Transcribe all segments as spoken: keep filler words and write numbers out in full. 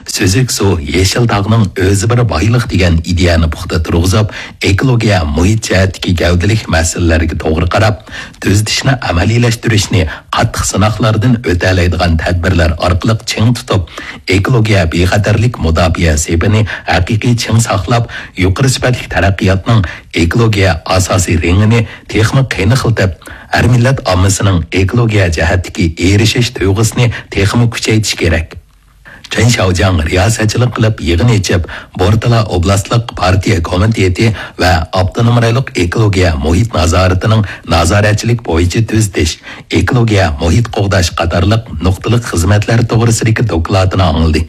سۈزۈك سۇ، يېشىل تاغنىڭ ئۆزى بىر بايلىق دېگەن ئىدىيەنى پۇختا تۇرغۇزۇپ، ئېكولوگىيە، مۇھىت جەھەتتىكى گەۋدىلىك مەسىلىلەرگە توغرا قاراپ، تۈزىتىشنى ئەمەلىيلەشتۈرۈشنى قاتتىق سىناقلاردىن ئۆتەلەيدىغان تەدبىرلەر ئارقىلىق چىڭ تۇتۇپ، ئېكولوگىيە بىخەتەرلىك مۇداپىئە سېپىنى ھەقىقىي چىڭ ساقلاپ، يۇقىرى سۈپەتلىك تەرەققىياتنىڭ ئېكولوگىيە ئاساسىي رېڭىنى تېخىمۇ قېنىقلىتىپ، ھەر مىللەت ئاممىسىنىڭ ئېكولوگىيە جەھەتتىكى ئېرىشىش تۇيغۇسىنى تېخىمۇ كۈچەيتىش كېرەك. چېن شياۋجياڭ رىياسەتچىلىك قىلىپ يىغىن ئېچىپ، بورتالا ئوبلاستلىق پارتىيە كومىتېتى ۋە ئاپتونوم رايونلۇق ئېكولوگىيە مۇھىت نازارىتىنىڭ نازارەتچىلىك بويىچە تۈزىتىش، ئېكولوگىيە مۇھىت قوغداش قاتارلىق نۇقتىلىق خىزمەتلەر توغرىسىدىكى دوكلاتىنى ئاڭلىدى.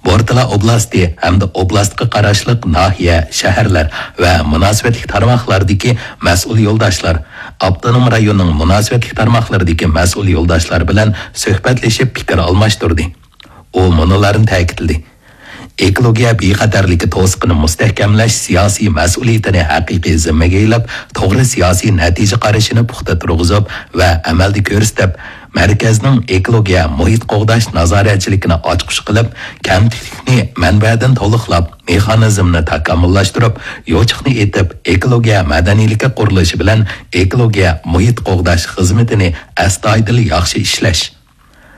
بورتالا ئوبلاستى ھەمدە ئوبلاستقا قاراشلىق ناھىيە، شەھەرلەر ۋە مۇناسىۋەتلىك تارماقلاردىكى مەسئۇل يولداشلار، ئاپتونوم رايوننىڭ مۇناسىۋەتلىك تارماقلىرىدىكى مەسئۇل يولداشلار بىلەن سۆھبەتلىشىپ پىكىر ئالماشتۇردى. ئۇ مۇنۇلارنى تەكىتلىدى: ئېكولوگىيە بىخەتەرلىكى توسۇقىنى مۇستەھكەملەش سىياسىي مەسئۇلىيىتىنى ھەقىقىي زىممىگە ئېلىپ، توغرا سىياسىي نەتىجە قارىشىنى پۇختا تۇرغۇزۇپ ۋە ئەمەلدە كۆرسىتىپ، مەركەزنىڭ ئېكولوگىيە مۇھىت قوغداش نازارەتچىلىكىنى ئاچقۇچ قىلىپ، كەمتۈكلۈكنى مەنبەدىن تولۇقلاپ، مېخانىزمنى تاكامۇللاشتۇرۇپ، يوچۇقنى ئېتىپ، ئېكولوگىيە مەدەنىيلىكى قۇرۇلۇشى بىلەن ئېكولوگىيە مۇھىت قوغداش خىزمىتىنى ئەستايىدىل ياخشى ئىشلەش.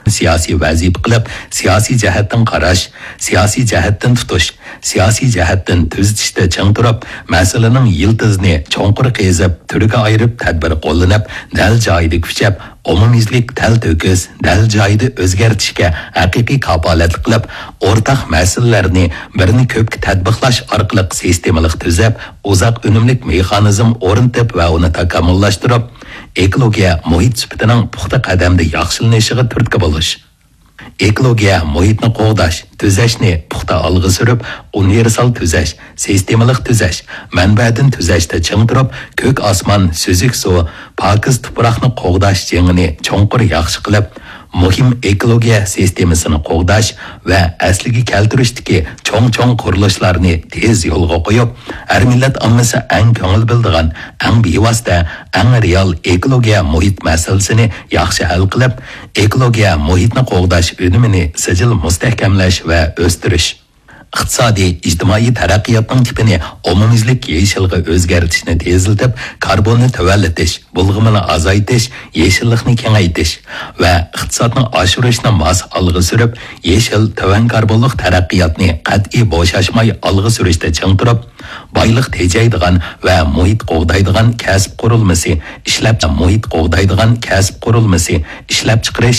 سىياسىي ۋەزىپە قىلىپ، سىياسىي جەھەتتىن قاراش، سىياسىي جەھەتتىن تۇتۇش، سىياسىي جەھەتتىن تۈزىتىشتە چىڭ تۇرۇپ، مەسىلىنىڭ يىلتىزىنى چوڭقۇر قېزىپ، تۈرگە ئايرىپ، تەدبىر قوللىنىپ، دەل جايىدا كۈچەپ، ئومۇميۈزلۈك تەلتۆكۈس، دەل جايىدا ئۆزگەرتىشكە ھەقىقىي كاپالەتلىك قىلىپ، ئورتاق مەسىلىلەرنى بىرنى كۆپكە تەتبىقلاش ئارقىلىق سىستېمىلىق تۈزەپ، ئۇزاق ئۈنۈملۈك مېخانىزم ئورنىتىپ ۋە ئۇنى تاكامۇللاشتۇرۇپ، ئېكولوگىيە مۇھىت سۈپىتىنىڭ پۇختا قەدەمدە ياخشىلىنىشىغا تۈرتكە بولۇش. ئېكولوگىيە مۇھىتنى قوغداش، تۈزەشنى پۇختا ئالغا سۈرۈپ، ئۇنىۋېرسال تۈزەش، سىستېمىلىق تۈزەش، مەنبەدىن تۈزەشتە چىڭ تۇرۇپ، كۆك ئاسمان، سۈزۈك سۇ، پاكىز تۇپراقنى قوغداش جېڭىنى چوڭقۇر ياخشى قىلىپ، مۇھىم ئېكولوگىيە سىستېمىسىنى قوغداش ۋە ئەسلىگە كەلتۈرۈشتىكى چوڭ-چوڭ قۇرۇلۇشلارنى تېز يولغا قويۇپ، ھەر مىللەت ئاممىسى ئەڭ كۆڭۈل بۆلىدىغان، ئەڭ بىۋاسىتە، ئەڭ رېئال ئېكولوگىيە مۇھىت مەسىلىسىنى ياخشى ھەل قىلىپ، ئېكولوگىيە مۇھىتنى قوغداش ئۈنۈمىنى سىجىل مۇستەھكەملەش ۋە ئۆستۈرۈش. ئىقتىسادىي، ئىجتىمائىي تەرەققىياتنىڭ تىپىنى ئومۇميۈزلۈك يېشىلغا ئۆزگەرتىشنى تېزلىتىپ، كاربوننى تۆۋەنلىتىش، بۇلغىمىنى ئازايتىش، يېشىللىقنى كېڭەيتىش ۋە ئىقتىسادنى ئاشۇرۇشنى ماس ئالغا سۈرۈپ، يېشىل، تۆۋەن كاربونلۇق تەرەققىياتنى قەتئىي بوشاشماي ئالغا سۈرۈشتە چىڭ تۇرۇپ، بايلىق تېجەيدىغان ۋە مۇھىت قوغدايدىغان كەسىپ قۇرۇلمىسى، ئىشلەپ، مۇھىت قوغدايدىغان كەسىپ قۇرۇلمىسى، ئىشلەپچىقىرىش،